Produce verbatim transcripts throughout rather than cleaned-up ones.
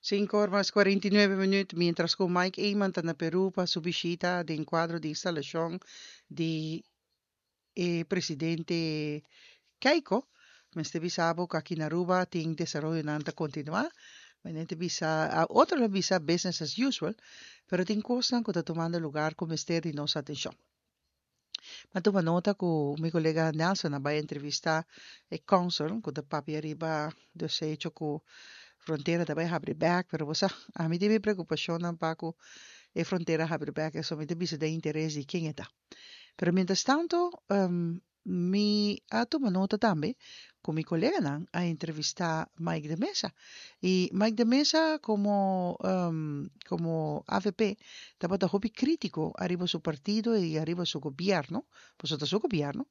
Cinco or mas cuarenta y nuebe minuut, mientras cu Mike Eman ta na Peru pa su bishita den cuadro di instalacion di e presidente Keiko, mester bisa bo cu aki na Aruba tin desaroyonan ta continua. Manera bisa, otro lo bisa business as usual, pero tin cosnan cu ta tumando lugar cu mester di nos atencion. M'a tuma nota cu mi colega Nelson a bay entrevista e consul cu ta papia riba dus hecho cu frontera ta bay habri bek, pero bo sa, ami tin mi preocupacionnan pa cu e frontera habri bek, eso mi ta bisa den interes di ken e ta. Pero mientras tanto, um, mi a tuma nota tambe cu mi coleganan a entrevista Mike de Meza. Y Mike de Meza como, um, como A V P tabata hopi critico ariba su partido y ariba su gobierno, pues su gobierno,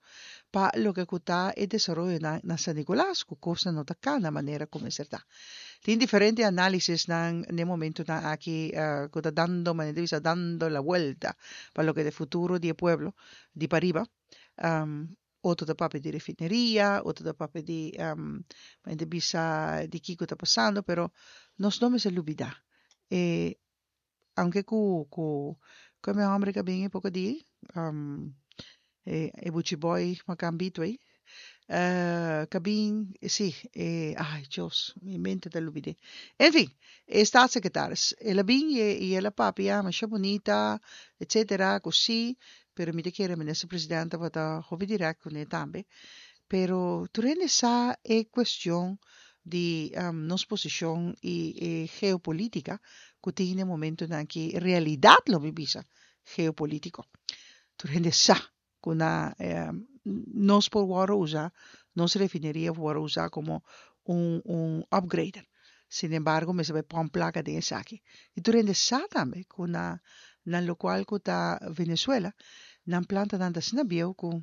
pa loke cu ta e desaroyo na, na San Nicolas, cu cos no ta cana manera como ta. Tin diferente analisis nan na momentonan aki uh, cu ta dando, manera bisa, dando la vuelta pa loke ta futuro di pueblo di pariba. Um, otro ta papia di refineria, otro ta papia di um, di bisa di kico ta pasando, pero nos no mester lubida. E, aunke cu cu cu mi homber cu bin poco di um, e, e Buchi Boy macambito ey. Uh, cabin, si, eh, ay, Dios, mi mente ta lubida. En fin, e staatssecretaris, el a bin y el a papia, masha bunita, etcétera, cu si, pero mi ta kere minister presidente ta hopi direct cu ne tambe. Pero tur hende sa e cuestion di um, nos posicion y, e geopolitica cu tin e momentonan aki realidad lo mi bisa geopolitico. Tur hende sa cu na eh, nos por usa nos refineria por usa como un, un upgrader. Sin embargo, mester bay pone placa den esaki. Y tur hende sa tambe cu na na locual cu ta Venezuela, nan plantanan ta asina bieu cu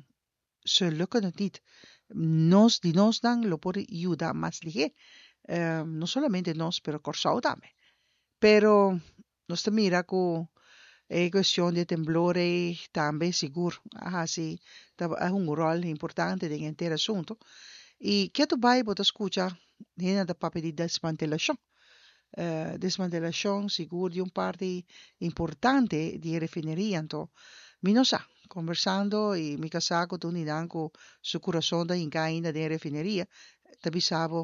ze lukken het niet. Nos di nos nan lo por yuda mas lihe. Um, no solamente nos, pero Corsou tambe. Pero nos ta mira cu e cuestion di temblor tambe sigur asina ta un rol importante den henter asunto. Y cu bay bo ta scucha hende ta papia di desmantelacion. Uh, desmantelacion sigur di un parti importante di refineria. Anto, mi no sa, conversando y mi casa cu un cu su curason ta ainda den refineria, ta bisa bo,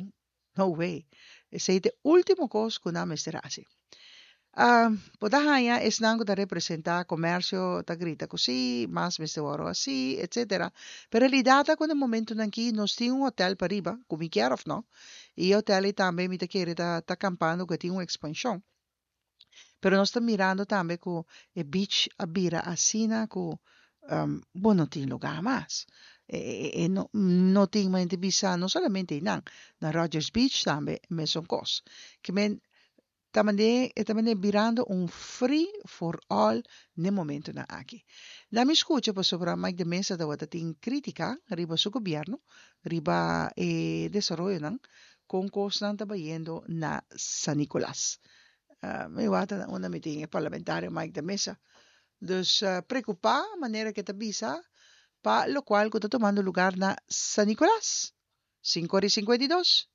no way. Esey ta e ultimo cos cu nan mester haci. Uh, bo ta haya esnan cu ta representa comercio ta grita cu si, mas mester wordo asina, etcétera. Pero realidad ta cu na e momentonan aki nos tin un hotel pariba, cu mi kier of no, y e hotel tambe mi ta kere ta, ta campando cu tin un expansion. Pero nos ta mirando tambe cu e beach a bira asina cu um, bon, no tin lugar mas. E, e, e no, no tin mas bisa, no solamente nan, na Rogers Beach tambe, mesun cos. Kiermen tambe tambe birando un free for all na e momentonan aki. Laga mi scucha pasobra Mike de Meza ta tin critica riba su gobierno, riba e desaroyonan, con cosnan ta bayendo na San Nicolas. Uh, mi wata unda mi tin parlamentario Mike de Meza. Dus uh, preocupa manera cu ta bisa pa locual cu ta tumando lugar na San Nicolas. cinco y cincuenta y dos.